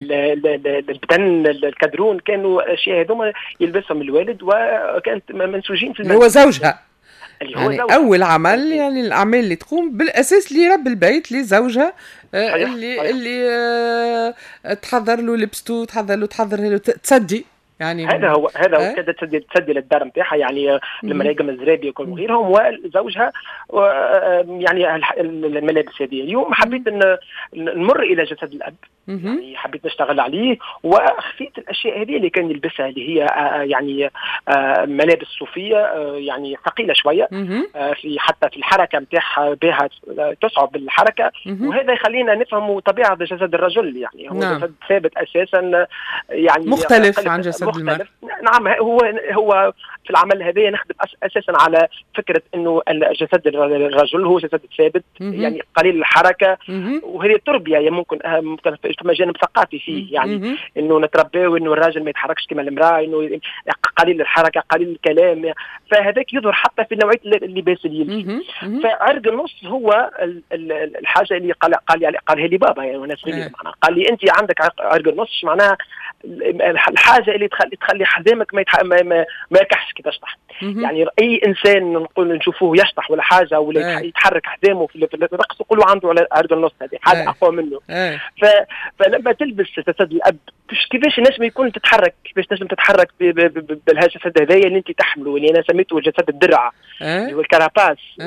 البدن الكادرون، كانوا الاشياء هذوما يلبسهم الوالد وكانت منسوجين في المنزل. هو زوجها اللي هو يعني زوجها. اول عمل، يعني الاعمال اللي تقوم بالاساس لرب البيت، لزوجها، اللي تحضر له لبسته، تحضر له، تحضر له، تسدي يعني. هذا هو كانت تسدي للدار نتاعها، يعني المراقم، الزرابي وغيرهم، وزوجها يعني الملابس هذه. اليوم حبيت ان نمر الى جسد الاب، يعني حبيت نشتغل عليه وخفيت الاشياء هذه اللي كان يلبسها، اللي هي يعني ملابس صوفية يعني ثقيلة شويه، في حتى في الحركة نتاعها بها تصعب الحركه، وهذا يخلينا نفهم طبيعة جسد الرجل، يعني هو جسد ثابت اساسا يعني مختلف عن جسد المرأة. نعم، هو في العمل هذا نخدم اساسا على فكرة انه جسد الرجل هو جسد ثابت، يعني قليل الحركه، وهذه التربية يعني ممكن فما جانب ثقافي فيه، يعني انه نتربيه انه الراجل ما يتحركش كما المراة، انه قليل الحركه، قليل الكلام، فهذاك يظهر حتى في نوعية اللباس اللي يلبس. فعرق النص هو الحاجة اللي قال قالها لي بابا، يعني وانا صغير، معناها قال لي انت عندك عرق النص، معناها الحاجة اللي تخلي حزامك ما يركحش كي تشطح. يعني اي انسان نقول نشوفوه يشطح ولا حاجة ولا يتحرك حزامه في الرقص، نقولوا عنده عرق النص، هذه حاجة اقوى منه. فلما تلبس جسد الاب، كيفاش نجم يكون تتحرك، كيفاش تنجم تتحرك بالجسد هذايا اللي انت تحمله، اللي انا سميته جسد الدرع، اللي هو ال carapace.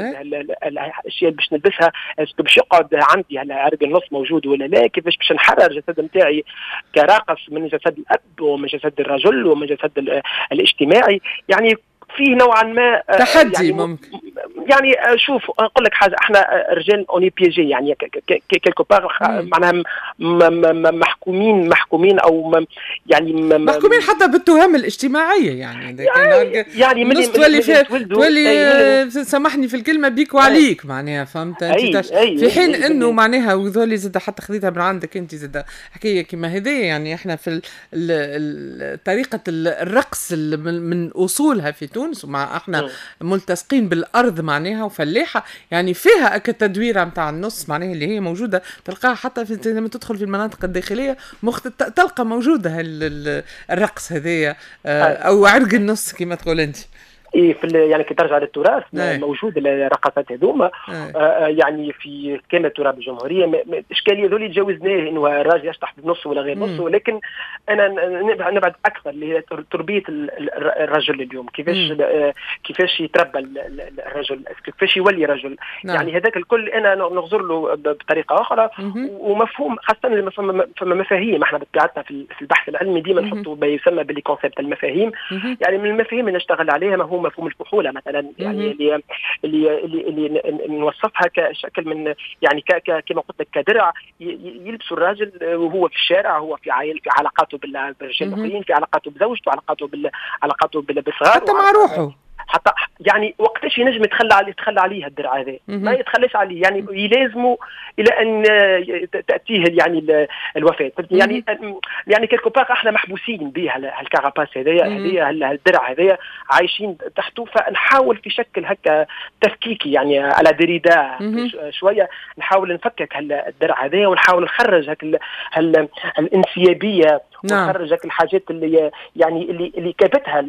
الاشياء اللي باش نلبسها، باش يقعد عندي عرق النص موجود ولا لا؟ كيفاش باش نحرر الجسد نتاعي كراقص من جسد الاب ومن جسد الرجل ومن جسد الاجتماعي؟ يعني فيه نوعا ما تحدي يعني ممكن. يعني شوف، نقول لك حاجه، احنا رجال on est piégés، يعني quelque part معناها محكومين او يعني محكومين حتى بالتهم الاجتماعيه، يعني يعني من تولي سامحني في الكلمه، بيك وعليك، معناها فهمت انت، في حين انه معناها وذولي زاد حتى خذيتها من عندك انت زاد حكاية كما هذه. يعني احنا في طريقه الرقص من اصولها في تونس، ومع احنا ملتصقين بالارض معناها وفلاحه، يعني فيها اك التدويره نتاع النص، معناها اللي هي موجودة تلقاها حتى في لما تدخل في المناطق الداخلية تلقى موجودة الرقص هذايا او عرق النص كما تقول انت. إيه، في يعني كي ترجع للتراث موجود الرقصات هذوما يعني في كامل تراب الجمهوريه. الاشكالية ذولي تجاوزناه، انه الراجل يشطح بالنص ولا غير نص، ولكن انا نبعد اكثر اللي هي تربيه الرجل اليوم، كيفاش يتربى الرجل، كيفاش يولي رجل. يعني هذاك الكل انا نغزر له بطريقة اخرى ومفهوم، خاصة فما مفاهيم. احنا بطبيعتنا في البحث العلمي ديما نحطوا ما يسمى ب les concepts، المفاهيم. يعني من المفاهيم اللي نشتغل عليها ما هو مفهوم الفحوله مثلا، يعني اللي نوصفها كشكل من يعني كما قلت لك كدرع يلبسوا الراجل وهو في الشارع، هو في عائل، في علاقاته بالرجال الاخرين، في علاقاته بزوجته، علاقاته بالصغار، حتى مع روحه. حتى يعني وقتاش ينجم يتخلى عليه الدرع هذا؟ ما يتخلاش عليه، يعني يلازمه الى ان تاتيه يعني الوفاه. يعني quelque part احنا محبوسين به هال carapace هذايا، هذايا الدرع هذايا عايشين تحته. فنحاول في شكل هكا تفكيكي، يعني à la Derrida شويه، نحاول نفكك الدرع هذايا ونحاول نخرج هك الانسيابيه ونخرج هك الحاجات اللي يعني اللي كابتها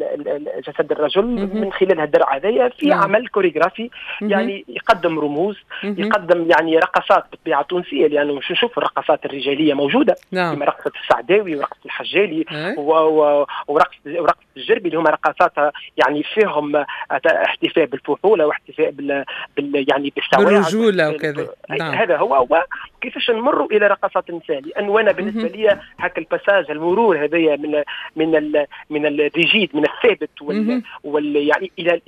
جسد الرجل من خلال الدرع هذايا في عمل كوريغرافي، يعني يقدم رموز، يقدم يعني رقصات بالطبيعة التونسيه، لانه مش نشوف الرقصات الرجاليه موجوده كما رقصه السعداوي ورقصه الحجالي ورقصه الجربي، اللي هما رقصات يعني فيهم احتفاء بالفحوله واحتفاء بال يعني بالسواعد، بالرجوله وكذا. هذا هو. وكيفاش نمروا الى رقصات النساء؟ لانه انا بالنسبة لي هاك ال passage، المرور هذايا من ال rigide، من الثابت وال يعني الى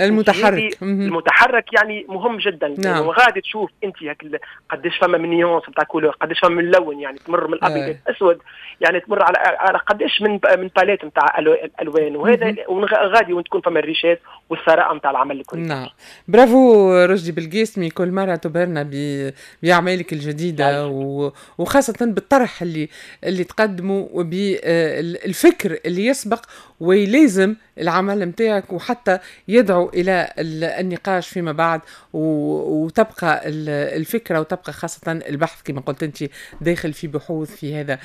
المتحرك. المتحرك يعني مهم جدا. وغادي تشوف انت هاك قداش فما من nuances نتاع couleur، قداش فما من لون، يعني تمر من الابيض الاسود، يعني تمر على قداش من palette نتاع الالوان، وهذا غادي وين تكون فما ال richesse والثراء نتاع العمل الكل. نعم، برافو رشدي بالقاسمي، كل مرة تبهرنا باعمالك. برؤيتك الجديدة وخاصة بالطرح اللي تقدمه وبالفكر اللي يسبق ويلازم العمل متاعك، وحتى يدعو إلى النقاش فيما بعد، وتبقى الفكرة وتبقى خاصة البحث كما قلت أنت داخل في بحوث في هذا.